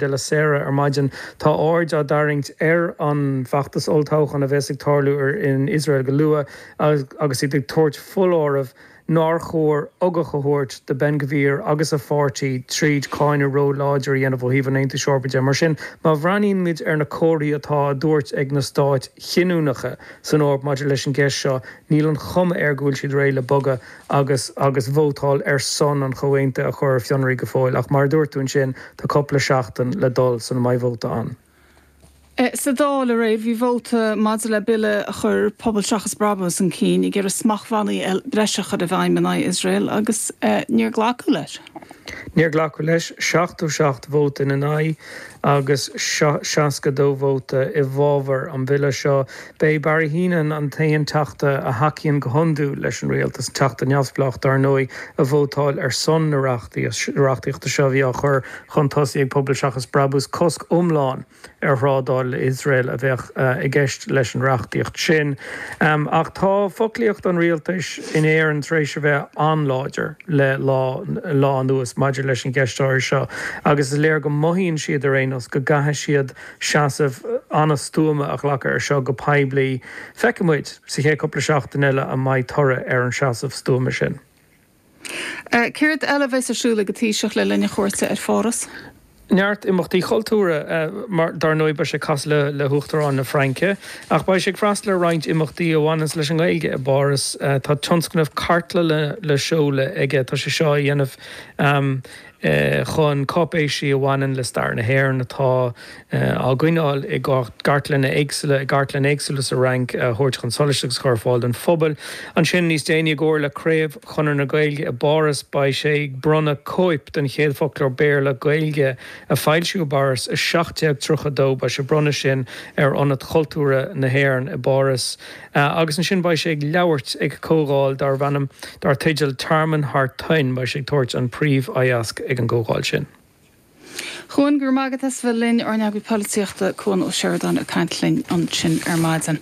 De La Sera ar maidin, tá aird á dtarraingt ar an bhfeachtas olltoghcháin a bheas ag tarlú in Iosrael go luath agus iad ag tabhairt foláireamh nár chóir ugach a thabhairt do Ben Gvir agus a pháirtí tríd cáineadh ró-láidir a dhéanamh ó thaobh an Aontais Eorpaigh de. Mar sin, má bhreathnaíonn muid ar na comharthaí atá á dtabhairt ag na stáit chinniúnacha san Eoraip maidir leis an gceist seo, níl an chuma air go bhfuil siad réidh le bogadh agus agus vótáil ar son an chomhaontaithe a chur ar fionraí go fóill. Ach mar a dúirt tú ansin, tá cúpla seachtain le dul sula mbeidh vóta ann. Sa Dáil aréir bhí vóta maidir le bille a chuir Pobal Seachas Brabús chun cinn ag iarraidh smachtbhannaí breise a chur i bhfeidhm in aghaidh Iosrael agus níor glacadh leis. Níor glacadh leis, 77 vóta ina n-aghaidh agus 62 vóta i bhfabhar an bhille seo. B'é Barry Heneghan an t-aon Teachta a thacaíonn go hiondúil leis an rialtas, Teachta neamhspleách dar ndóigh, a vótáil ar son na reachtaíochta seo a bhí á chur chun tosaigh ag Pobal Seachas Brabús, cosc iomlán ar thrádáil le hIosrael a bheadh i gceist leis an reachtaíocht sin. Ach tá foclaíocht an rialtais in Éirinn tar éis a bheith an-láidir le lá lá anuas maidir leis an gceist áirithe seo agus is léir go mothaíonn siad ar aon nós go gcaithfidh siad seasamh an-stuama a ghlacadh ar seo go poiblí. Feicfidh muid sa chéad cúpla seachtain eile an mbeidh toradh ar an seasamh stuama sin. Céard eile a bheas ar siúl ag an Taoiseach le linn a chuairte ar Pháras? Neart imeachtaí cultúrtha, mar dar ndóigh beidh sé ag casadh le hUachtarán na Fraince, ach beidh sé ag freastal ar roinnt imeachtaí a bhaineanns leis an nGaeilge i bPáras. Tá tionscnamh cartlainne le seoladh aige, tá sé seo á dhéanamh chun cáipéisí a bhaineann le stair na hÉireann atá á gcoinneáil i gcartlanna éagsúla i gcartlanna éagsúla sa Fhrainc a thabhairt chun solais agus a chur ar fáil don phobal. Ansin, níos déanaí, i gcomhar le Craobh Chonradh na Gaeilge i bPáras, beidh sé ag bronnadh cóip den chéad foclóir Béarla-Gaeilge a foilsíodh i bPáras i 1732. Beidh sé ag bronnadh sin ar Ionad Chultúrtha na hÉireann i bPáras. Agus ansin beidh sé ag labhairt ag comhdháil darb ainm, dar teideal Tearmann Thar Toinn. Beidh sé ag tabhairt an príomh-aitheasc ag an gcomhdháil sin. Cuan, go raibh maith agat as bheith linn, ár n-eagraí polaitíochta, Cuan Ó Seireadáin ag caint linn ansin ar maidin.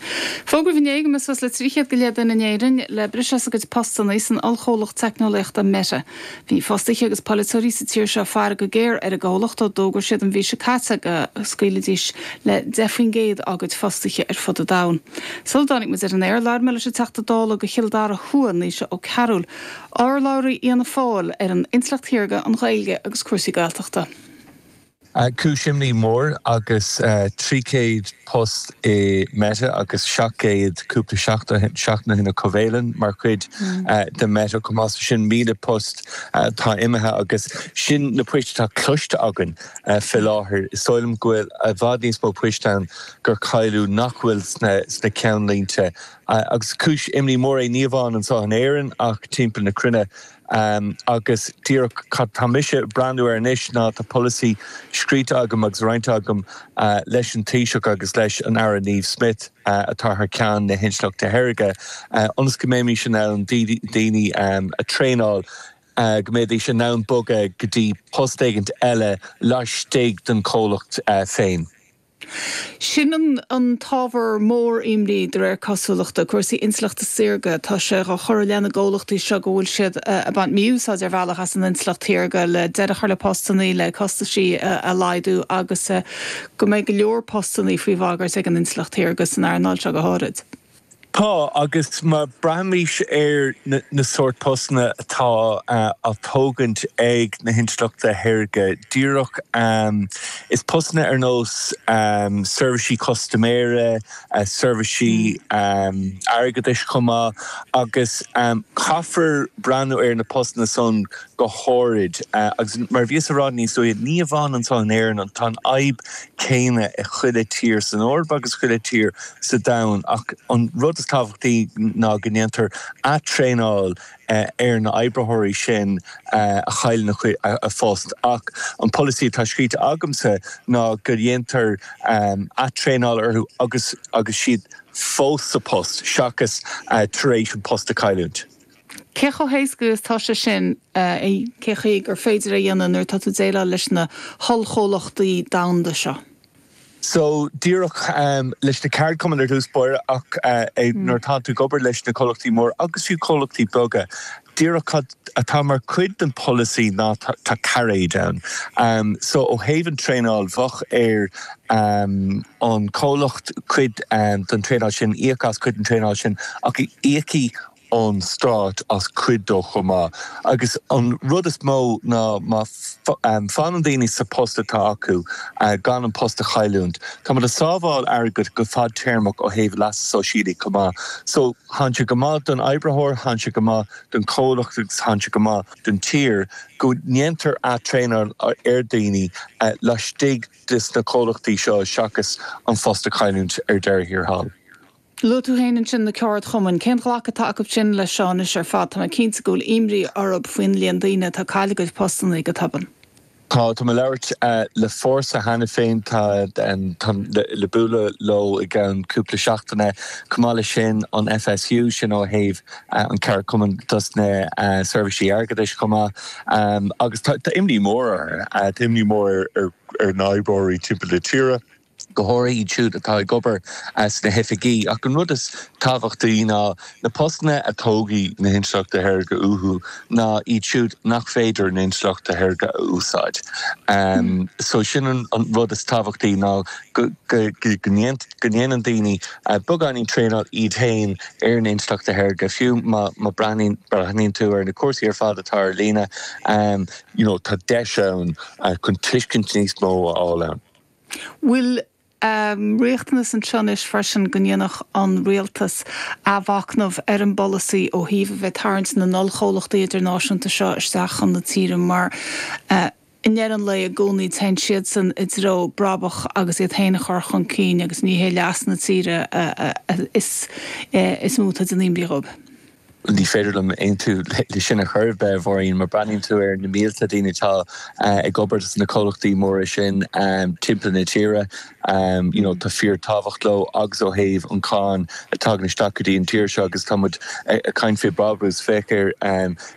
Fógraíodh inné go mbeidh suas le 300 go leith duine in Éirinn le briseadh as a gcuid postanna san ollchomhlacht teicneolaíochta Meta. Bhí fostaithe agus polaiteoirí sa tír seo ag faire go géar ar an gcomhlacht ó d'fhógair siad an mhí seo caite go scaoilfidís le 10% dá gcuid fostaithe ar fud an domhain. Sula dtáinig muid ar an aer, labhair mé leis an Teachta Dála do Chill Dara Thuaidh, Naoise Ó Cearúil, Urlabhraí Fhianna Fáil ar an Intleacht Shaorga, an Ghaeilge agus cúrsaí Gaeltachta. Cúis imní mór agus 300 post i Meta agus 700 cúpla seachtain ó shin i Covalon mar chuid de Meta chomh maith. So sin 1,000 post atá imithe agus sin na poist atá cloiste againn fé láthair. Is dóigh liom go bhfuil i bhfad níos mó poist ann gur cailleadh nach bhfuil sna ceannlínte Agus cúis imní mór é ní amháin anseo in Éirinn ach timpeall na cruinne. Agus díreach cad tá mise ag breathnú air anois ná tá polasaí scríte agam agus roinnte agam leis an Taoiseach agus leis an Aire Niamh Smyth atá thar ceann na hintleachta shaorga ionas go mbeimis in ann daoine a traenáil go mbeidís in ann bogadh go dtí post éigint eile laistigh den chomhlacht féin. Sin an t-ábhar mór imní, de réir cosúlachta, cúrsaí intleachta saorga. Tá sé á chur i leith na gcomhlachtaí seo go bhfuil siad ag baint mí-úsáid ar bhealach as an intleacht shaorga le deireadh a chur le postannaí, le costaisí a laghdú agus go mbeidh go leor postannaí faoi bhagairt ag an intleacht shaorga san earnáil seo go háirid. Tá, agus má breathnaímís ar na sórt postanna atá á tógaint ag na hintleachta shaorga, díreach is postanna ar nós seirbhísí custaiméara, seirbhísí airgeadais chomh maith, agus caithfear breathnú ar na postanna san go háirid. Agus mar a bhíos a rá níos luaithe, ní amháin anseo in Éirinn, tá an fhadhb céanna i chuile tír san Eoraip agus chuile tír sa domhan ach an rud is tábhachtaí ná go ndéantar atraenáil ar na oibritheoirí sin a chailleann a phost. Ach an polasaí atá scríte agamsa ná go ndéantar atraenáil orthu agus agus siad fós sa post seachas tar éis an post a chailliúint. Cé chomh héasca is atá sé sin, cé chaoi gur féidir é a dhéanamh nuair atá tú ag déileáil leis na hollchomhlachtaí domhanda seo? So, díreach leis na ceardchumainn ar dtús báire ach nuair atá tú ag obair leis na comhlachtaí móra agus fiú comhlachtaí beaga, Díreach cad atá mar chuid den pholasaí ná tá cairéid ann. So ó thaobh an traenáil, bheadh ar an chomhlacht cuid den traenáil sin, íoc as cuid den traenáil sin ach íocfaidh an stát as cuid dó chomh maith. Agus an rud is mó ná má fanann daoine sa post atá acu gan an post a chailliúint, tá muid ag sábháil airgead go fadtéarmach ó thaobh leasa sóisialaigh chomh maith. So thánn sé go maith don oibritheoir, thánn sé go maith don chomhlacht agus thánn sé go maith don tír go ndéantar ath-traenáil ar daoine laistigh de sna comhlachtaí seo seachas an phost a chailliúint ar deireadh thiar thall. Luaigh tú féin ansin na ceardchumainn. Cén ghlacadh atá acu sin leis seo anois ar fad? Tá mé cinnte go bhfuil imní orthu faoin líon daoine atá ag cailleadh a gcuid postanna go tobann. Tá, tá mé ag labhairt le Fórsa cheana féin, tá, táim le bualadh leo i gceann cúpla seachtaine. Chomh maith leis sin, an FSU, sin ó thaobh an ceardchumann dos na seirbhísí airgeadais chomh maith. Agus tá imní mór orthu, tá imní mór ar na hoibreoirí timpeall na tíre. go háirithe iad siúd atá ag obair sna hoifigí. Ach an rud is tábhachtaí ná na postanna a dtógfaidh na hintleachta shaorga uathu ná iad siúd nach féidir na intleachta shaorga a úsáid. So sin an rud is tábhachtaí ná go ndéanann daoine beagáinín traenáil iad féin ar na intleachta shaorga, fiú má breathnaíonn tú ar na cúrsaí ar fad atá ar líne, you know tá deis ann chun tuiscint níos mó a fháil ann. Bhfuil riachtanas anseo anois freisin go ndéanfadh an rialtas athmhachnamh ar an bpolasaí ó thaobh a bheith ag tarraingt na n-ollchomhlachtaí idirnáisiúnta seo isteach chun na tíre mar i ndeireadh an lae i gcónaí téann siadsan i dtreo brabach agus iad féin a chur chun cinn agus ní hé leas na tíre is mó atá ag déanamh imní dhóibh. Ní féidir liom aontú le sin ar chor ar bith, a Mháirín. Má breathnaíonn tú ar na mílte daoine atá ag obair sna comhlachtaí móra sin timpeall na tíre, you know, tá fíor-tábhacht leo agus ó thaobh an cáin a tagann isteach go dtí an tír seo agus tá muid ag caint fé brabús, féach ar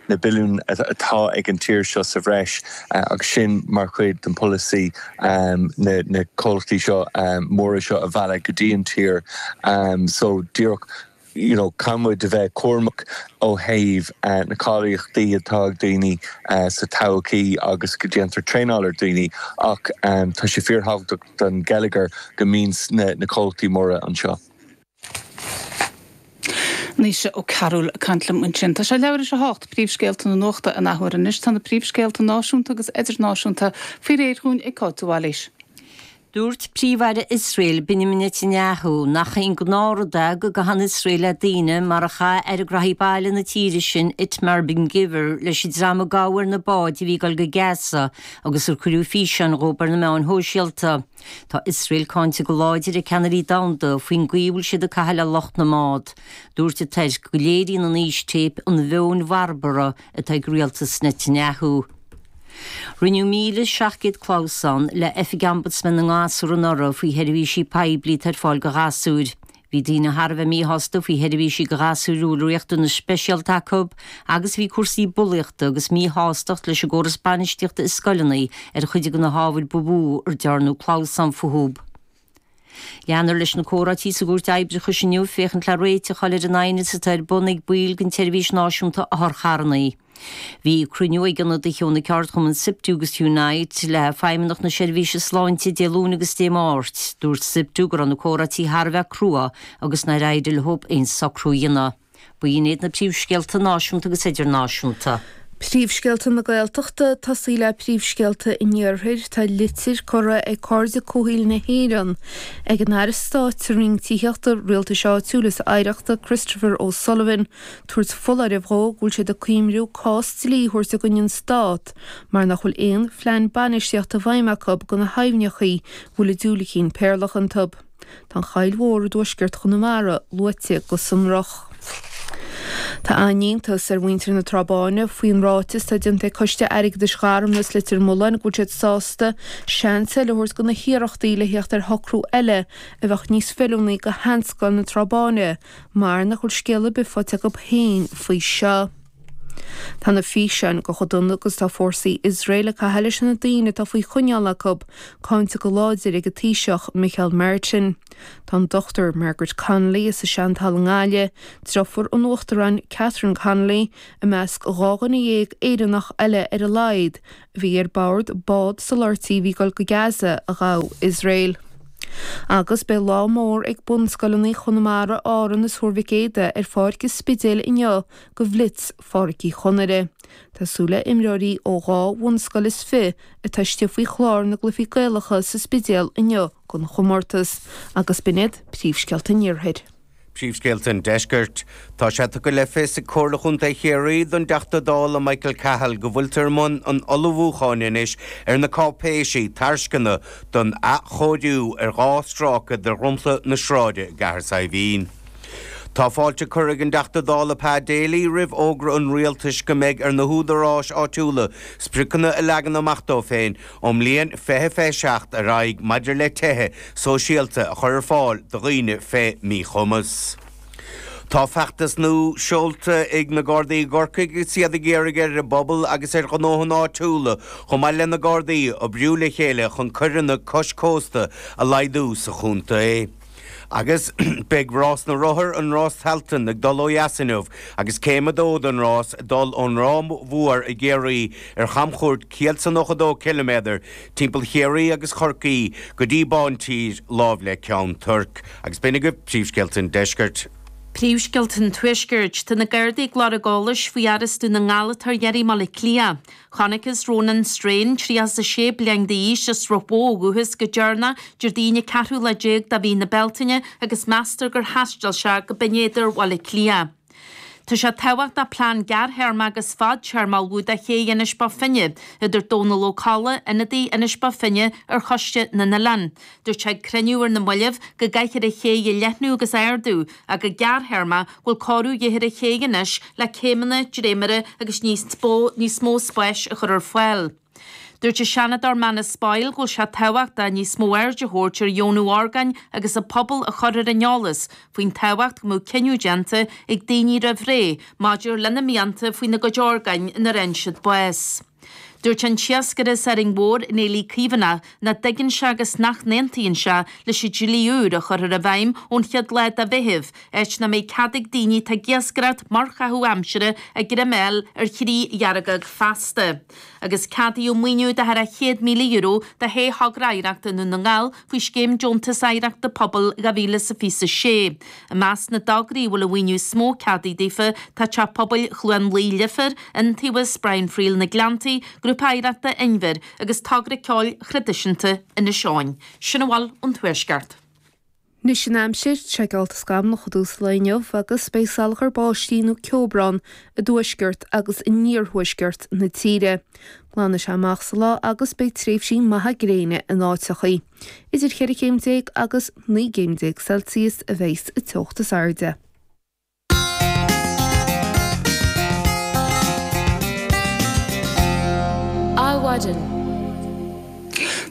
na billiúin atá ag an tír seo sa bhreis agus sin mar chuid den polasaí na comhlachtaí seo móra seo a mhealladh go dtí an tír. So díreach. you know caithfidh muid a bheith cúramach ó thaobh na cáilíochtaí atá ag daoine sa todhchaí agus go déantar traenáil ar daoine ach tá sé fíorthábhachtach don gheilleagar go mbíonn na comhlachtaí móra anseo. Naoise Ó Cearúil ag caint liom ansin. Tá sé leathuair théis a hocht, príomhscéalta na nuachta an athuair anois. Tá na príomhscéalta náisiúnta agus idirnáisiúnta faoi réir dhúinn ag Cáit de Bhailís. Dúirt Príomh-Aire Iosrael, Benjamin Netanyahu, nach aon ghnáthrud é go gcaitheann Iosrael le daoine mar a chaith Aire Graithí Baile na tíre sin, Itamar Ben-Gvir, leis an dream a gabhadh ar na báid a bhí ag dul go Gaza agus ar cuireadh físeáin dhóibh ar na meáin shóisialta. Tá Iosrael cáinte go láidir ag ceannairí domhanda faoin gcaoi a bhfuil siad ag caitheamh le lucht na mbád. Dúirt an tAire go léiríonn an fhístéip an mheon bharbarach atá ag rialtas Netanyahu. Rinneadh 1,700 clamhsán le Oifig Ombudsman na nGasúr anuraidh faoi sheirbhísí poiblí atá ar fáil do ghasúir. Bhí daoine thar a bheith míshásta faoi sheirbhísí do ghasúir a bhfuil riachtanais speisialta acu agus bhí cúrsaí bulaíochta agus míshástacht leis an gcóras bainistíochta i scoileanna ar chuid de na hábhair ba mhó ar dearnadh clamhsán fúthu. Leanfar leis na comhráití sa gCúirt Oibreachais inniu féachaint le réiteach a fháil ar an aighneas atá ar bun ag baill den tSeirbhís Náisiúnta Otharcharranna. Bhí cruinniú ag ionadaithe ó na ceardchumainn Siptu agus Unite le Feidhmeannacht na Seirbhíse Sláinte Dé Luain agus Dé Máirt. Dúirt Siptu go raibh na comhráití thar a bheith crua agus nár éirigh leo aon socrú a dhéanamh. B'in iad na príomhscéalta náisiúnta agus idirnáisiúnta. Príomhscéalta na Gaeltachta, Tosaí le príomhscéalta an Iarthair, tá litir curtha ag Cairde Comhshaoil na hÉireann ag an Aire Stáit sa Roinn Tithíochta, Rialtais Áitiúil is Oidhreachta, Christopher O'Sullivan, tabhairt foláireamh dhó go bhfuil siad ag cuimriú cás dlí a thabhairt i gcoinne an Stát mar nach bhfuil aon phlean bainistíochta i bhfeidhm acu do na haibhneachaí a bhfuil an diúilicín péarlach iontu. Tá an Choill Mhór i dtuaisceart Chonamara luaite go sonrach. Tá an-iontas ar mhuintir na Trá Báine faoin ráiteas atá déanta ag Coiste Airgeadais Gharmna is Leitir Mealláin go bhfuil siad sásta seans eile a thabhairt do na hiarrachtaí le theacht ar shocrú eile a bheadh níos feiliúnaí do sheanscoil na Trá Báine mar nach bhfuil scéal ar bith faighte acu féin faoi seo. Tá na físeáin de chomh dona agus atá fórsaí Iosrael ag caitheamh leis na daoine atá faoi choinneáil acu cáinte go láidir ag an Taoiseach Micheál Martin. Tá an Dr Margaret Connolly as an Seantalamh i nGaillimh, deirfiúr an Uachtaráin Catherine Connolly, i measc 12 dhuine Éireannach eile ar a laghad a bhí ar bord bád soláthairtí a bhí ag dul go Gaza a ghabh Iosrael. Agus beidh lá mór ag bunscoileanna Chonamara, Árann is Thuar Mhic Éadaigh ar Pháirc an Spidéil inniu do Bhlitz Pháirc Uí Chonaire. Tá súil le imreoirí ó dhá bhunscoil is fi atá istigh faoi chlár na gCluichí Gaelacha sa Spidéal inniu don chomórtas. Agus b'in iad príomhscéalta an Iarthair. Príomhscéalta an Deiscirt. Tá sé tugtha le fios ag Comhairle Chontae Chiarraí don dTeachta Dála Michael Cahill go bhfuiltear i mbun an ullmhúcháin anois ar na cáipéisí tairsceana don athchóiriú ar 2 stráice de dhromchla na sráide i gCathair Saidhbhín. Tá fáilte curtha ag an dTeachta Dála Pa Daly roimh fhógra an Rialtais go mbeidh ar na húdaráis áitiúla spriocanna a leagan amach dóibh féin ón mbliain 2027 ar aghaidh maidir le tithe sóisialta a chur ar fáil do dhaoine fé mhíchumas. Tá feachtas nua seolta ag na Gardaí i gCorcaigh agus iad ag iarraidh ar an bpobal agus ar ghnóthanna áitiúla chomh maith le na Gardaí oibriú le chéile chun coireanna cois cósta a laghdú sa chontae. Agus beidh Rás na Rothar, an Rás Tailteann, ag dul ó dheas inniu agus céim a dó den rás ag dul ón Ráth Mhór i gCiarraí ar chamchuairt 192 ciliméadar timpeall Chiarraí agus Chorcaí go dtí Bántír láimh le Ceann Toirc. Agus b'in agaibh príomhscéalta an deiscirt. Príomhscéalta an Tuaiscirt. Tá na Gardaí ag lorg eolais faoi fhear as Dún na nGall atá ar iarraidh i mBaile Átha Cliath. Chonacthas Ronan Strain, 36 bliain d'aois, as Sruth Mhór ó dhúchas go deireanach Déardaoin an ceathrú lá déag de mhí na Bealtaine agus meastar gur thaistil sé go Binn Éadair Bhaile Átha Cliath. Tá sé tábhachtach plean gearrthéarma agus fadtéarma a ullmhú do ché Inis Bó Finne, a dúirt Dónal Ó Colla, ionadaí Inis Bó Finne ar Choiste na nOileán. Dúirt sé ag cruinniú ar na mallaibh go gcaithfear an ché a leathnú agus a ardú ach go gearrthéarma go bhfuil cóiriú de dhíth ar an ché anois le céimeanna, dréimire agus níos níos mó spáis a chur ar fáil. Dúirt an Seanadóir Manus Boyle go bhfuil sé tábhachtach níos mó aird a thabhairt ar dheonú orgáin agus an pobal a chur ar an eolas faoin tábhacht go mbeadh cinneadh déanta ag daoine roimh ré maidir lena mianta faoina gcuid orgáin nuair a fhaigheann siad bás. Dúirt an t-iascaire as Árainn Mhór, Néillí Caomhánach, nach dtuigeann sé agus nach n-aontaíonn sé leis an dlí úr a chuirfear i bhfeidhm ón chéad lá de Mheitheamh, áit nach mbeidh cead ag daoine atá ag iascaireacht mar chaitheamh aimsire a greim a fháil ar chriú dheargóg feasta. Agus ceadaíodh maoiniú de thar €100,000 do shé thogra oidhreachta i nDún na nGall faoi Scéim Deontas Oidhreachta Pobail 2026. I measc na dtograí a bhfuil an mhaoiniú is mó ceadaithe daofa tá Teach Pobail Chluain Laoi Leifear, Iontaobhas Brian Friel na Gleanntaí, Grúpa Oidhreachta Inbhir agus Togra Ceoil Thraidisiúnta Inis Eoghain. Sin a bhfuil ón Tuaisceart. Anois an aimsir, tá sé geallta scamallach i dtús an lae inniu agus beidh salachar báistí nó ceobhrán i dtuaisceart agus in iarthuaisceart na tíre. Glanfaidh sé amach sa lá agus beidh tréimhsí maithe gréine in áiteachaí. Idir cheithre chéim déag agus 19 gcéim Celsius a bheidhs an teocht is airde. Adhmhaidin.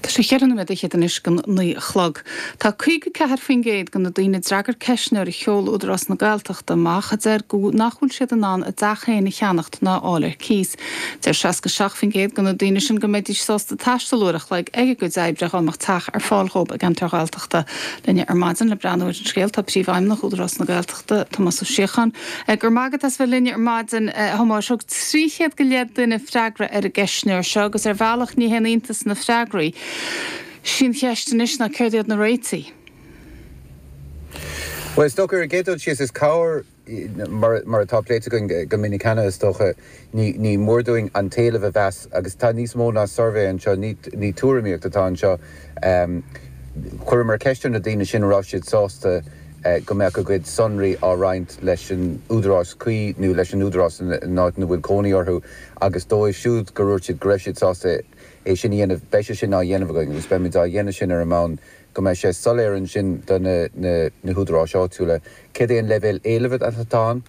Tá sé cheithre nóiméad fhichead anois don 9 a chlog. Tá 54% de na daoine a d'fhreagair ceistneoir a sheol Údarás na Gaeltachta amach a deir go nach bhfuil siad in ann a dteach féin a cheannacht ná a fháil ar cíos. Deir 67% de na daoine sin go mbeidís sásta taisteal uair a chloig ag a gcuid oibre dhá mbeadh teach ar fáil dhóibh i gceantar Ghaeltachta. Linne ar maidin le breathnú ar an scéal tá Príomhfheidhmeannach Údarás na Gaeltachta, Tomás Ó Síocháin. Go raibh maith agat as bheith linn ar maidin, a Thomáis. Thug 300 go leith duine freagra ar an gceistneoir seo agus ar bhealach ní haon iontas na freagraí. Sí an cheist anois ná céard iad na réitigh? Bhuel, is dócha ar an gcéad dul síos is cabhair, mar atá pléite againn go minic cheana is dócha, ní mór dúinn an t-éileamh a mheas agus tá níos mó ná suirbhé anseo, ní tuairimíocht atá anseo. Chuireamar ceist ar na daoine sin an raibh siad sásta go mbeadh a gcuid sonraí á roinnt leis an údarás cuí nó leis an údarás in áit ina bhfuil cónaí orthu agus dóibh siúd gur dhúirt siad go raibh siad sásta é sin a dhéanamh, beidh sé sin á dhéanamh againn agus beimid á dhéanamh sin ar an mbonn go mbeidh sé soiléir ansin do na húdaráis áitiúla céard é an leibhéal éilimh atá ann,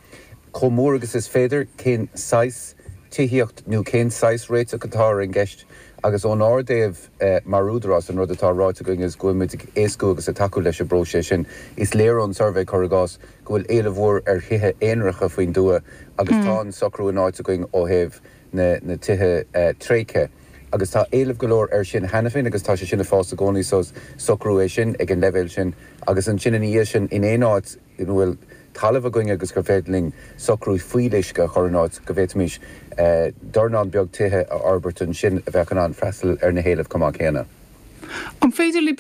chomh mór agus is féidir, cén saghas tithíocht nó cén saghas réiteach atá ar an gceist. Agus ónár dtaobh mar Údarás, an rud atá ráite againn is go bhfuil muid ag éascú agus ag tacú leis an bpróiseas sin. Is léir ón suirbhé, cuir i gcás, go bhfuil éileamh mhór ar thithe aonaracha faoin dtuath agus tá an socrú in áit againn ó thaobh na tithe tréigthe agus tá éileamh go leor air sin cheana féin agus tá sé sin ag fás i gcónaí so is socrú é sin ag an leibhéal sin agus ansin ina dhiaidh sin in aon áit ina bhfuil talamh againn agus gur féidir linn socrú fuíolluisce a chur in áit go bhféadfaimis dornán beag tithe a fhorbairt ansin a bheadh in ann freastal ar na héilimh chomh maith céanna. An féidir libh.